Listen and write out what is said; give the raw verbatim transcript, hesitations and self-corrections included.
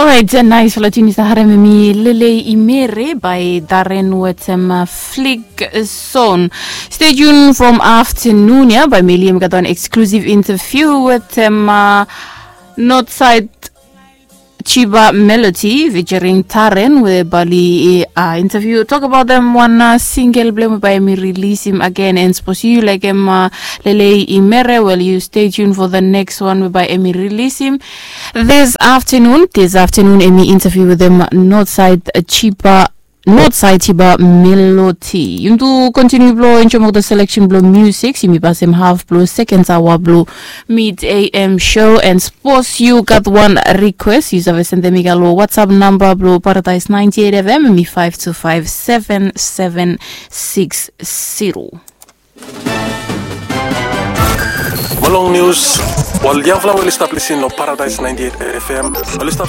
Orait, nais fala tun yu stap harem em i Lelei Imere by Darren wetem Flick Zone. Stay tuned from afternoon ya by Meli em gat wan exclusive interview wetem Northside Chiba Melody featuring Taren, we bali uh, interview talk about them one uh, single blame by me release him again and suppose you like him uh, Lelei Imere. Well, you stay tuned for the next one by Emi release him this afternoon. This afternoon Emi interview with them Northside Chiba Northside Chiba Melody. Yum tu continue blo enjoy mok the selection blo music. Yumi pass him half blo second hour blo mid A M show and suppose you got one request, you save send them iga lo WhatsApp number blo Paradise ninety-eight F M mi five two five seven seven six zero. Mo long nius, ol yangfala we oli stap lisin long Paradise ninety-eight F M, oli stap